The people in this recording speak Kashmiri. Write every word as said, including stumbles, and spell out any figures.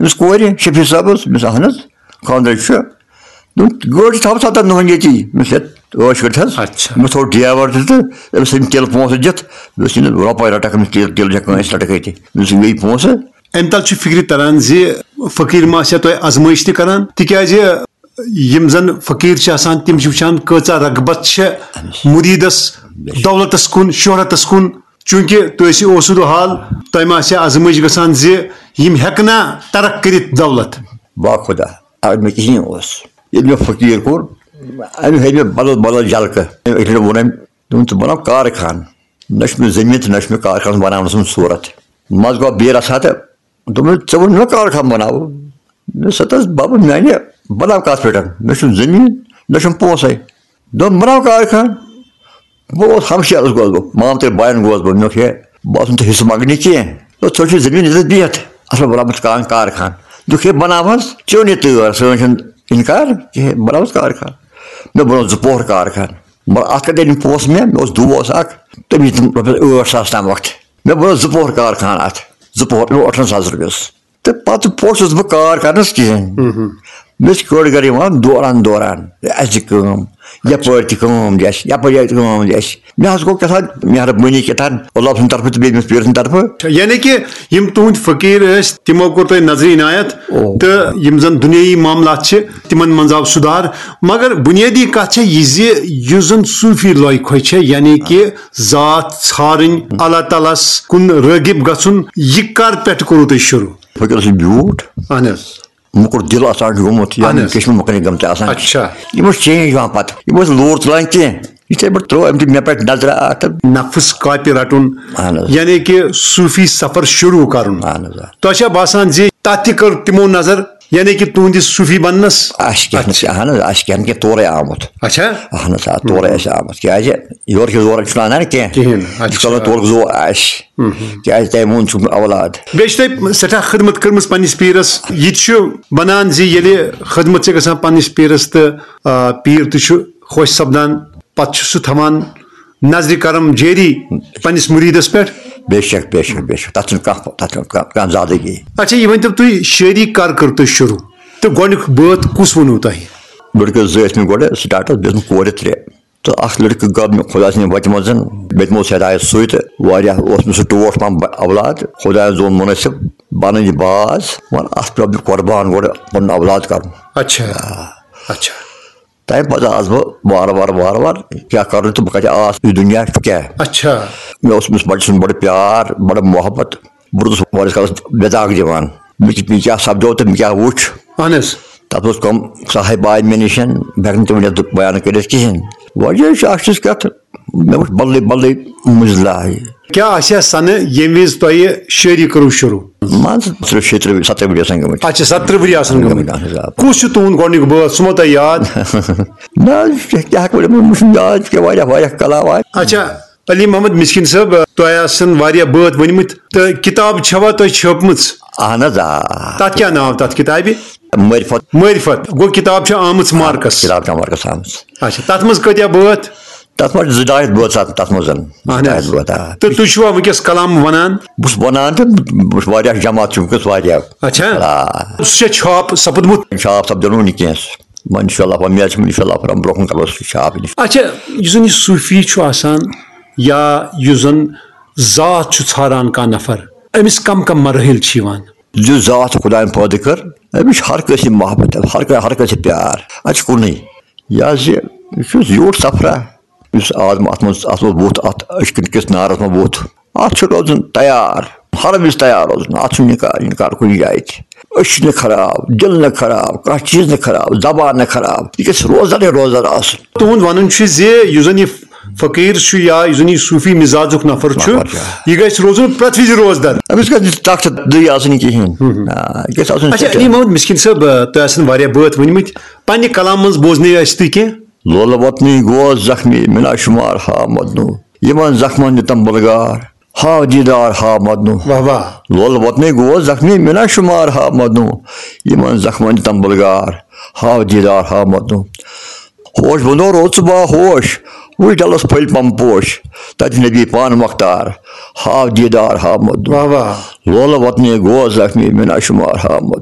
أمِس کورِ، شفیع صٲبَس، مےٚ دوٚپُس، اَہَن حظ، خانٛدرٕے چھُ۔ دوٚپُن، گٲڑۍ چھِ تھاوان ستَن دۄہَن ییٚتی۔ مےٚ دوٚپُس، ہے، عٲش کٔرِتھ حظ۔ اچھا۔ مےٚ تھوٚو ڈرٛیوَر تہِ تہٕ أمِس أنۍ تیٖلہٕ پونٛسہٕ دِتھ، مےٚ دوٚپُس، یہِ نہٕ رۄپَے رَٹَکھ أمِس تیٖل، تیٖل چھےٚ کٲنٛسہِ رَٹَکھ أتی۔ مےٚ دوٚپُس، یہِ گٔے پونٛسہٕ۔ اَمہِ تَل چھُ فِکرِ تَران زِ فقیٖر ما آسہِ ہا تۄہہِ آزمٲیِش تہِ کَران، تِکیٛازِ یِم زَن فقیٖر چھِ آسان، تِم چھِ وٕچھان کۭژاہ رغبت چھےٚ مُریٖدَس دولتَس کُن، شہرتَس کُن۔ چوٗنٛکہِ تُہۍ ٲسِو اوسُد حال، تۄہہِ ما آسہِ ہا آزمٲیِش گژھان زِ یِم ہٮ۪کہٕ نا ترک کٔرِتھ دولت؟ با خۄدا، اگر مےٚ کِہیٖنۍ اوس، ییٚلہِ مےٚ فقیٖر کوٚر، أمۍ ہٲوۍ مےٚ بدل بدل جلکہٕ۔ أمۍ اَکہِ لَٹہِ ووٚن أمۍ، دوٚپُن، "ژٕ بَناو کارخان، نہ چھُ مےٚ زٔمیٖن تہٕ نہ چھُ مےٚ کارخانَس بَناونَس منٛز صوٗرت۔" منٛزٕ گوٚو بیٚیہِ رَژھا تہٕ دوٚپُن، "ژٕ وَن مےٚ کارخان بَناوو؟" مےٚ دوٚپُس، "ہَتہٕ حظ بَبہٕ میٛانہِ، بَناو کَتھ پٮ۪ٹھ؟ مےٚ چھُنہٕ زٔمیٖن، نہ چھُم پونٛسَے۔" دوٚپُن، "بَناو کارخان۔" بہٕ اوسُس ہمشیرس گوس بہٕ، مامتٕرۍ باین گوس بہٕ، مےٚ دوٚپ، "ہے، بہٕ آسُن تہٕ حصہٕ منٛگنہِ کینٛہہ۔" دوٚپ، "ژٕ چھُے زٔمیٖن ییٚتٮ۪تھ بِہِتھ، اَصٕل بناومُت کان-، کارخان۔" دوٚپُکھ، "ہے، بناو حظ، چیوٚن یہِ تٲر، سٲنۍ چھُنہٕ اِنکار کِہیٖنۍ، بناو حظ کارخان۔" مےٚ بنوو زٕ پوہر کارخان۔ مگر اَتھ کَتہِ أنِم پونٛسہٕ مےٚ؟ مےٚ اوس دوس اَکھ، تٔمۍ دِتِم رۄپیَس ٲٹھ ساس تام وقت۔ مےٚ بنوو زٕ پوہر کارخان اَتھ، زٕ پوہر، مےٚ اوس ٲٹھَن ساس رۄپیَس۔ تہٕ پَتہٕ پوٚژھُس بہٕ کار کرنَس کِہیٖنۍ۔ مےٚ چھِ کٔڑ گَرِ یِوان دوران دوران، اَسہِ دِ کٲم، یَپٲرۍ تہِ کٲم دِ اَسہِ، یَپٲرۍ تہِ کٲم دِ اَسہِ۔ مےٚ حظ گوٚو کیٛاہ تام مہربٲنی کیٛاہ تام، اللہ سٕنٛدِ طرفہٕ تہٕ بیٚیہِ أمِس پیٖر سٕنٛدِ طرفہٕ۔ یعنی کہِ یِم تُہٕنٛدۍ فقیٖر ٲسۍ، تِمو کوٚر تۄہہِ نظرِ عنایت، او۔ تہٕ یِم زَن دُنیٲیی معاملات چھِ، تِمَن منٛز آو سُدھار۔ مگر بُنیٲدی کَتھ چھےٚ یہِ زِ یُس زَن صوٗفی لوے کھوے چھےٚ، یعنی کہِ ذات ژھارٕنۍ، اللہ تعالیٰ ہَس کُن رٲغِب گژھُن، یہِ کَر پٮ۪ٹھ کوٚروٕ تۄہہِ شروٗع؟ فقیٖر اوس یہِ بیوٗٹھ۔ اہن حظ۔ موٚکُر دِل آسان چھُ گوٚمُت، یا اہن حظ۔ کِچنہٕ مۄکلے گٔمژٕ آسان۔ اچھا۔ یِم ٲسۍ چینج یِوان پتہٕ، یِم ٲسۍ لوٗر تُلان کینٛہہ۔ یِتھے پٲٹھۍ ترٛٲو أمۍ تہِ مےٚ پٮ۪ٹھ نظرہ اکھ تہٕ نفس کاپہِ رٹُن، اہن حظ۔ یعنی کہِ صوٗفی سفر شروٗع کرُن۔ اہن حظ، آ۔ تۄہہِ چھا باسان زِ تتھ تہِ کٔر تِمو نظر، یعنی کہِ تُہنٛدِس صوٗفی بننس؟ آسہِ کینٛہہ نہٕ، اچھا۔ اہن حظ، آسہِ کینٛہہ نہٕ کینٛہہ، تورے آمُت۔ اچھا۔ اہن حظ، آ، تورے آسہِ آمُت۔ کیٛازِ یورٕ چھِ زورٕ چھُنہٕ اَنان کینٛہہ۔ کِہیٖنۍ۔ یہِ چھُ اچھا۔ کَران تورُک زور آسہِ۔ مہم۔ کیٛازِ تۄہہِ ووٚن چھُم اولاد۔ بیٚیہِ چھِ تۄہہِ سٮ۪ٹھاہ خدمت کٔرمٕژ پننِس پیٖرس۔ یہِ تہِ چھُ بنان زِ ییٚلہِ خدمت چھِ گژھان پننِس پیٖرس تہٕ، آ، پیٖر تہِ چھُ خۄش سپدان، پتہٕ چھُ سُہ تھاوان نظرِ کرم جٲری پننِس مُریٖدس پٮ۪ٹھ۔ بے شک، بے شک، بے شک۔ تَتھ چھُنہٕ کانٛہہ، تَتھ چھُنہٕ کانٛہہ، کانٛہہ زیادٕ کِہیٖنۍ۔ اچھا، یہِ ؤنۍ تو تُہۍ، شٲعری کر کٔر تۄہہِ شروٗع تہٕ گۄڈٕنیُک بٲتھ کُس ووٚنوٕ تۄہہِ؟ لٔڑکہٕ زٕ ٲسۍ مےٚ گۄڈٕ سٹاٹس، بیٚیہِ ٲسۍ مےٚ کورِ ترٛےٚ۔ تہٕ اکھ لڑکہٕ گوٚو مےٚ خۄداے سٕنٛدِ وَتہِ منٛز، بیٚیہِ تِمو سۭتۍ آیہِ سُے تہٕ واریاہ اوس مےٚ سُہ ٹوٹھ پہم ب-، اولاد۔ خۄدایَن زون مُنٲسِب بَنٕنۍ یہِ باز، وَن اَتھ پٮ۪و مےٚ قۄربان گۄڈٕ پَنُن اولاد کَرُن۔ اچھا، آ۔ اچھا۔ تَمہِ پَتہٕ آس بہٕ وارٕ وارٕ، وارٕ وارٕ کیٛاہ کَرُن تہٕ بہٕ کَتہِ آس، یہِ دُنیا چھُ کیٛاہ؟ اچھا۔ مےٚ اوس أمِس بَچہٕ سُنٛد بَڑٕ پیار، بَڑٕ محبت۔ بہٕ روٗدُس واریاہَس کالَس بے داغ دِوان۔ مےٚ کہِ-، مےٚ کیٛاہ سَپدیو تہٕ مےٚ کیٛاہ وُچھ۔ اہن حظ۔ تَتھ منٛز کَم صاحب آے مےٚ نِش، بہٕ ہٮ۪کہٕ نہٕ تِم ؤنِتھ، بیان کٔرِتھ کِہیٖنۍ۔ وجہ چھُ اَکھ چیٖز کَتھ، مےٚ وُچھ بدلٕے بدلٕے مٔنٛزۍ لاے۔ کیٛاہ آسہِ ہا سَنہٕ ییٚمہِ وِزِ تۄہہِ شٲعری کٔرٕو شروٗع؟ مان ژٕ، ترٕٛہ، شیٚیہِ ترٕٛہ، سترٕہ ؤری آسان گٔمٕتۍ۔ اچھا، سترٕہ ؤری آسان گٔمٕتۍ۔ گٔمٕتۍ، اہن حظ، آ۔ کُس چھُ تُہُنٛد گۄڈٕنیُک بٲتھ؟ سُہ ما تۄہہِ یاد؟ نہ حظ، کیٛاہ ہٮ۪کہٕ بہٕ ؤنِتھ؟ مےٚ چھُنہٕ یاد، کہِ واریاہ، واریاہ کلام آے۔ اچھا، علی محمد مِسکیٖن صٲب، تۄہہِ آسن واریاہ بٲتھ ؤنۍمٕتۍ تہٕ کِتاب چھوا تۄہہِ چھٲپمٕژ؟ اہن حظ، آ۔ تَتھ کیٛاہ ناو تَتھ کِتابہِ؟ معرفت۔ معرفت۔ گوٚو کِتاب چھِ آمٕژ مارکس۔ کِتاب چھِ مارکس آمٕژ۔ اچھا، تَتھ منٛز کۭتیٛاہ بٲتھ؟ تَتھ منٛز چھِ زٕ ڈاے ہَتھ بٲتھ آسان تَتھ منٛز۔ اہن حظ۔ زٕ ڈاے ہَتھ بٲتھ، آ۔ تہٕ تُہۍ چھِوا وٕنکیٚس کلام وَنان؟ بہٕ چھُس وَنان تہٕ بہٕ چھُس واریاہ جماعت چھِ وٕنکیٚس واریاہ۔ اچھا۔ آ۔ سُہ چھا چھاپ سَپُدمُت؟ چھاپ سَپدیو نہٕ وٕنہِ کینٛہہ۔ وۄنۍ انشاءاللہ، وۄنۍ میلہِ سُہ انشاءاللہ پَرُن، برونٛہہ کُن کَرو سُہ چھاپ انشاءاللہ۔ اچھا، یُس زَن یہِ صوٗفی چھُ آسان یا یُس زَن ذات چھُ ژھاران کانٛہہ نفر، أمِس کم کم مراحل چھِ یِوان؟ یُس ذات چھُ خۄدایَن پٲدٕ کٔر، أمِس چھُ ہر کٲنٛسہِ محبت، ہر کٲنٛسہِ، ہر کٲنٛسہِ پیار، اَتہِ چھُ کُنُے۔ یہِ حظ یہِ، یہِ چھُ زیوٗٹھ سفرا، یُس آدم اَتھ منٛز، اَتھ منٛز ووٚتھ، اَتھ أچھ کِنۍ کِس نارَس منٛز ووٚتھ۔ اَتھ چھُ روزُن تیار، ہر وِزِ تیار روزُن۔ اَتھ چھُنہٕ اِنکار، اِنکار کُنہِ جایہِ تہِ۔ أچھ نہٕ خراب، دِل نہٕ خراب، کانٛہہ چیٖز نہٕ خراب، زبان نہٕ خراب۔ یہِ گژھِ روزدَرٕے روزدَر آسُن۔ تُہُنٛد وَنُن چھُ زِ یُس زَن یہِ فقیٖر چھُ یا یُس زَن یہِ صوٗفی مِزازُک نفر چھُ، نفر چھُ۔ یہِ گژھِ روزُن پرٛٮ۪تھ وِزِ روزدَر۔ أمِس گژھِ نہٕ تَخت دٕے آسٕنۍ کِہیٖنۍ۔ ہُم۔ آ، یہِ گژھِ آسُن اچھا، سٮ۪ٹھاہ۔ علی محمد مِسکیٖن صٲب، آ، تۄہہِ آسَن واریاہ بٲتھ ؤنۍمٕتۍ۔ پنٛنہِ کلامہٕ منٛز بوزنٲیِو اَسہِ تُہۍ کینٛہہ۔ لولہٕ وطنٕے گوس زخمی مےٚ نہ شُمار ہا مدنو۔ یِمن زخمن دِتم بُلگار، ہاو دیٖدار ہاو مدنو۔ واہ واہ۔ لولہٕ وطنٕے گوس زخمی مےٚ نہ شُمار ہا مدنو۔ یِمن زخمن دِتم بُلگار، ہاو دیٖدار ہاو مدنو۔ ہوش بندو روز ژٕ باہوش، وٕچھ ڈلس پھٔلۍ پم پوش، تتہِ نبی پان مختار، ہاو دیٖدار ہاو مدنو۔ واہ واہ۔ لولہٕ وطنٕے گوس زخمی مےٚ نہ شُمار ہا مدنو۔